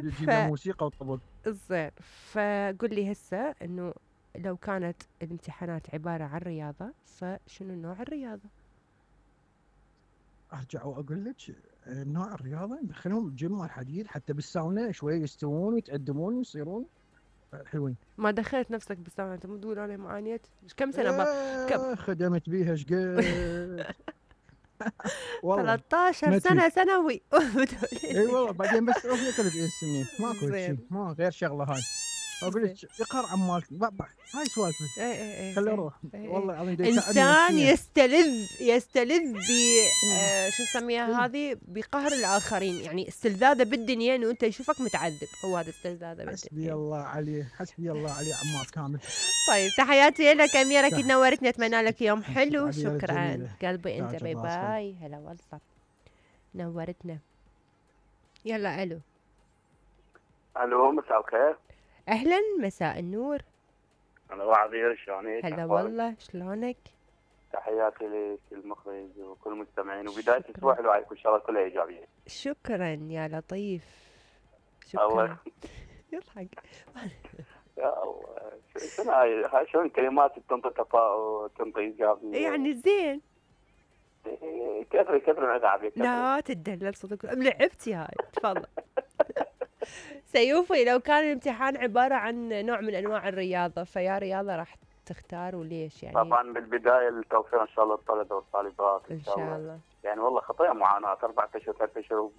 تجيب له موسيقى وطبل. زين، فقل لي هسه انه لو كانت الامتحانات عبارة عن رياضة، فشنو نوع الرياضة؟ ارجع واقول لك نوع الرياضه ندخلهم الجيم مال الحديد حتى بالساونا شويه يستوون ويتقدمون ويصيرون حلوين. ما دخلت نفسك بالساونا؟ انت مو تقول انا معانيت كم سنة كم خدمت بيها شقد والله 13 سنة ثانوي. اي والله بعدين بس رحنا 3 سنين ماكو شيء، ما غير شغله هاي. اقول لك اقهر عمالك هاي سوالفك. اي خليه يروح والله العظيم انسان يستلذ ب شو نسميها هذه، بقهر الاخرين، يعني استلذاذه بالدنيا انه انت يشوفك متعذب، هو هذا استلذاذه بالدنيا. حسبي الله عليه، حسبي الله عليه عمار كامل. طيب تحياتي لك اميره، اكيد نورتني، اتمنى لك يوم حلو. شكرا قلبي انت، باي باي. هلا والله نورتنا. يلا الو مساء الخير. اهلا مساء النور. انا وعبير، شلونك؟ هلا والله، شلونك؟ تحياتي لك المخرج وكل المستمعين، وبدايه اسبوع حلو عليكم ان شاء الله كلها ايجابيه. شكرا يا لطيف، شكرا. الله يضحك. يا الله، شنو هاي شلون كلمات تنطي تفاؤل تنطي ايجابيه يعني زين. كثر من اتعب. لا تدلل صدق، لعبتي هاي. تفضل. سيوفي، لو كان الامتحان عبارة عن نوع من أنواع الرياضة، فيا رياضة راح تختار وليش يعني؟ طبعا بالبداية التوفيق إن شاء الله للطلبة والطالبات إن شاء الله. يعني والله خطية معاناة 4 أشهر 3 أشهر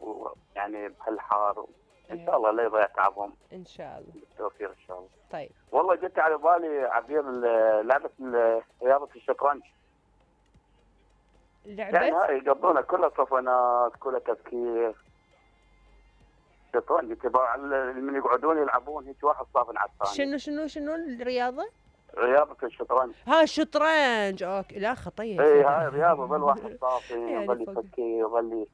يعني بهالحار، إن شاء الله لا يضيع تعبهم. إن شاء الله بالتوفيق إن شاء الله. طيب والله جت على بالي عبير لعبة رياضة الشطرنج. لعبة يعني هاي يقضونها كلها صفنات كلها تفكير. شطرنج تبع من يقعدون يلعبون هيك واحد صافن على الثاني. شنو الرياضة؟ رياضة الشطرنج. ها الشطرنج، اوكي. لا خطية. اي هاي رياضة، ظل واحد صافن يظل يفكر يظل.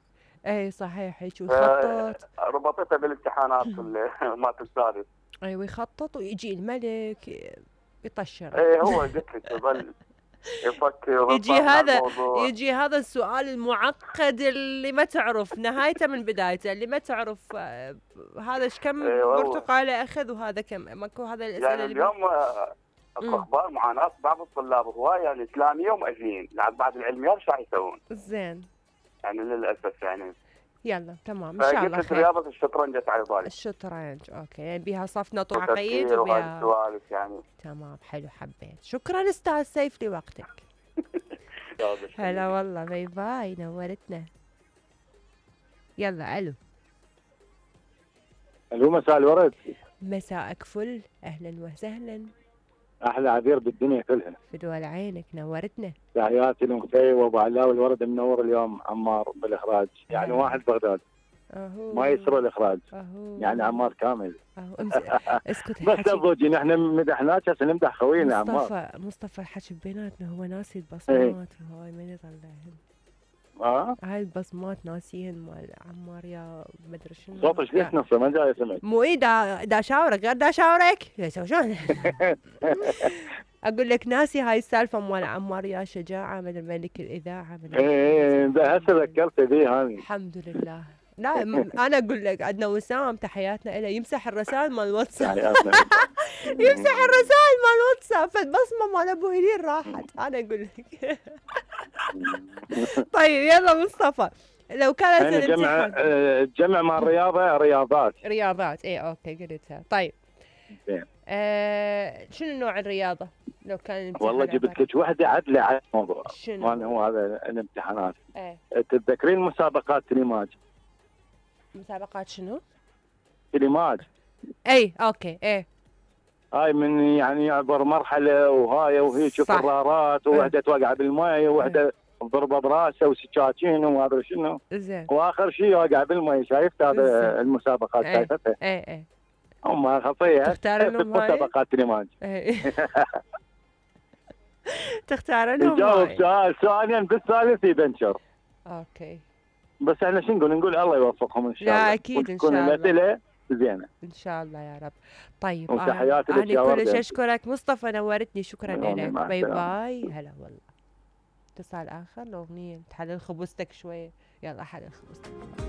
اي صحيح هيك ويخطط. ربطتها بالامتحانات مالت السادس. ايوه يخطط ويجي الملك يطشر. اي هو قلت لك يظل يفكر. يجي هذا السؤال المعقد اللي ما تعرف نهايته من بدايته، اللي ما تعرف هذا ايش كم برتقاله اخذ وهذا كم، ماكو هذا الاسئله يعني اليوم اخبار معاناه بعض الطلاب هوايه الاسلاميه ومؤذين بعد العلميات ايش راح يسوون؟ زين يعني للاسف يعني. يلا تمام ان شاء الله خير. رياضه الشطرنج على بالي. الشطرنج اوكي، يعني بيها صفنه وعقيد وبيها سوالف يعني. تمام حلو، حبيت. شكرا استاذ سيف لوقتك. هلا والله، باي باي، نورتنا. يلا الو مساء الورد. مساءك فل، اهلا وسهلا. احلى عبير بالدنيا كلها. فدوى عينك، نورتنا. تحياتي لمختي وابو علاء والورد منور اليوم عمار بالاخراج، يعني واحد بغداد ما يسرى الاخراج. يعني عمار كامل. اسكت. بس ابوجي نحن مدحناك هسه نمدح خوينا عمار. مصطفى الحكي بيناتنا، هو ناسي البصمات وهاي من يطلعهن. هاي البصمات ناسيهن مال عمار يا مدري شنو. صوتك ليش نصه ما جاي سمعت؟ مو دا شاورك غير دا شاورك شلون. اقول لك ناسي هاي السالفه مال عمار يا شجاعه من الملك الاذاعه. ايه هسه ذكرت بي هذه. الحمد لله. لا انا اقول لك عندنا وسام تحياتنا له، يمسح الرسائل مال الواتساب. يمسح الرسائل مال الواتساب، فالبصمه مال ابو هليل راحت. انا اقول لك. طيب يلا مصطفى، لو كانت الجمع مع الرياضه رياضات. اي اوكي قلتها. طيب زين. شنو نوع الرياضه لو كان والله جبت لك وحده عدله على الموضوع. شنو هو هذا الامتحانات؟ تتذكرين مسابقات تليماج؟ مسابقات شنو؟ تليماج. اي اوكي. هاي من يعني يعبر مرحله وهاي وهيك قرارات، ووحده توقع بالماء ووحده ضربه براسه وسكاكين وما ادري شنو. زين. واخر شيء واقع بالماء. شايفت هذا المسابقات؟ شايفتها؟ اي هم خطيه. تختار لهم مسابقات تليماج. تختار لهم. نجاوب سؤال ثانيا بالثالث يبنشر. اوكي. بس احنا شو نقول الله يوفقهم ان شاء الله. لا اكيد ان شاء الله. تكون الاسئله زينه ان شاء الله يا رب. طيب انا كلش اشكرك مصطفى، نورتني. شكرا لك. باي باي. هلا والله. اتصال اخر. الاغنيه تحلل خبزتك شويه. يلا حلل خبزتك.